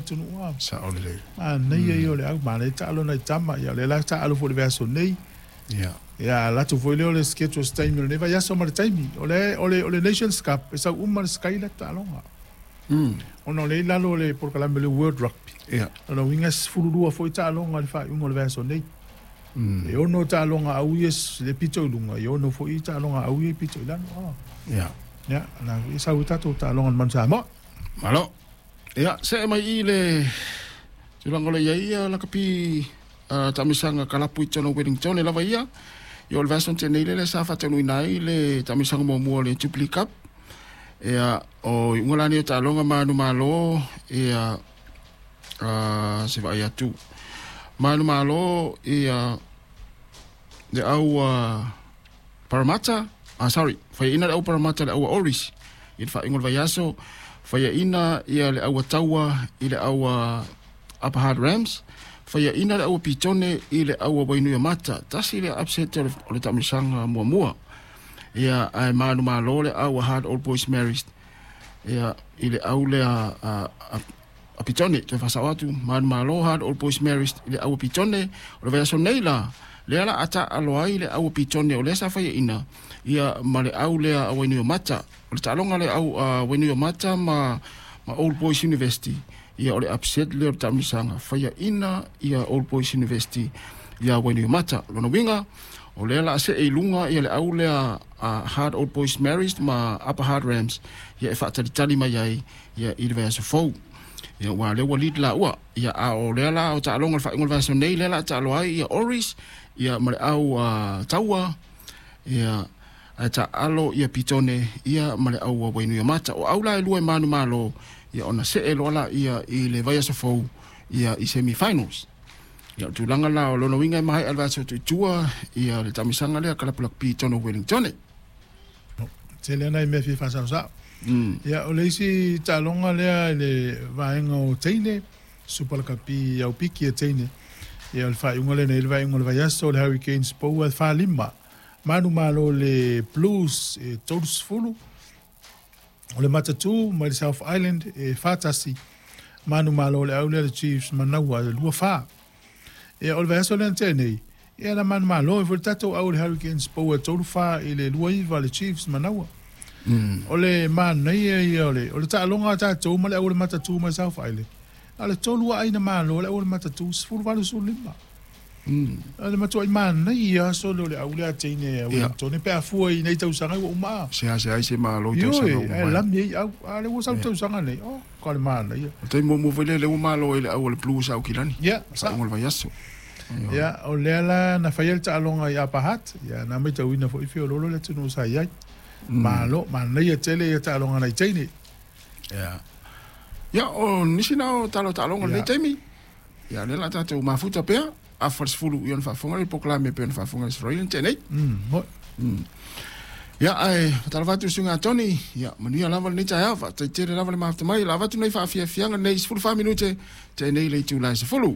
atunuu a. Sao lelei. Manaia ia o le au, manaia taalo nai tama, ia o lea la taalo foi i le vaiaso nei. Ia. Ia alu atu foi lea o le schedule o se taimi o lenei vaiaso ma le taimi. O le, o le, o le Nations Cup, e sau uma le Skyler taaloga. Ona o lea i lalo o le polokalame o le World Rugby. Ia. O lona uiga e 12 foi taaloga i le faaiuga o le vaiaso nei. E 6 taaloga a au ia le pito i luga, e 6 foi taaloga a au ia pito i lalo. Ia. Ia, o lena foi e sau ai tatou taaloga a le Manu Samoa. Malo. Ia, see mai i le tulaga o lo o i ai ia lakapi taamilosaga kalapu i totonu o Wellington e lava ia. Ia o le vaiaso na tea nei lea sa faataunuuina ai le taamilosaga muamua o le Jubilee Cup. Ia, o iuga la nei o taaloga ma manumalo, ia, se vaai atu. Manumalo, ia, le au Parramatta, sorry, faiaina le au Parramatta i le au a Oris i le faaiuga o le vaiaso, faiaina ia le au a Taua i le au a Upper Hutt Rams, faiaina le au a Pitone i le au a Wainuiomata. Tasi le upset o le taamilosaga muamua. Ia, ae manumalo le au a Hard Old Boys Marist ia, i le au lea a Pitone. Toe faasao atu, manumalo Hard Old Boys Marist i le au a Pitone. O le vaiaso nei la, lea la a taalo ai le au a Pitone o lea sa faiaina ia ma le au lea a Wainuiomata. O le taaloga le au a Wainuiomata ma Old Boys University. Ia o le upset lea o le taamilosaga, faiaina ia Old Boys University ia Wainuiomata. Lona uiga, o lea la a see i luga ia le au lea a Hard Old Boys Marist ma Upper Hard Rams ia e faatalitali mai ai ia i le vaiaso fou. Ia ua lea ua lead laua. Ia a o lea la o taaloga o le faaiuga o le vaiaso nei lea la a taalo ai ia Oris ia ma le au Taua ia ae taalo ia Pitone ia ma le au a Wainuiomata. O au la e lua e manumalo ia ona see loa laia i le vaiaso fou ia i semi finals. Ia o le tulaga la o lona uiga e maea le vaiaso atu i tua ia le taamilosaga lea kalapu lakapi i totonu o Wellington. Tele lava nai mea e fia faasaosao. Ia, o le isi taaloga lea i le vaega o teine, Super Lakapi au piki a teine. Ia, o le faaiuga lea na i ai le vaaiuga o le vaiaso, o le Hurricanes Poua e 4-5. Manumalo le Blues e 30. O le Matatū mai le South Island e 4-1. Manumalo le au lea le Chiefs Manaua e 2-4. Ia, o le vaiaso lea na tea nei, ia na manumalo ai foi le tatou au le Hurricanes Poua e 3-4 i le 2-9 le Chiefs Manaua. O le manaia ia o le, o le taaloga a tatou ma le au o le Matatū mai South Island, na o le tolu lava aina malo le au o le Matatū, 18 15. O le matuai manaia aso lea o le au lea a teine a Wellington pe a fua i nei tausaga ua uma a. Seasea ai se malo i tausaga ua uma. Ioe, ae lami ai au. A lea ua sau tausaga nei, oh, ka le manaia. O le taimi muamua foi lea, lea ua malo ai le au a le Blues a Aukilani. Ia, sa. Faaiuga o le vaiaso. Ia, o lea la na faia le taaloga i Upper Hutt, ia na matauina foi feoloolo le atunuu sa i ai. Malo, manaia tele ia taaloga nai teine. Ia. Ia, o nisi na o tala o taaloga o lenei taimi. Ia, o lea o le a tatou mafuta pea, afa i le 10 ia ona faafofoga lea i le polokalame e pei ona faafofoga i Aso Faraile na tea nei. Ia, ae faatalofa atu i le susuga ia Tony, ia, manuia lava lenei taeao, faafetai tele lava le mafuta mai. O le a avatu nei faafiafiaga nei 14 minute tea nei i le itula e 10.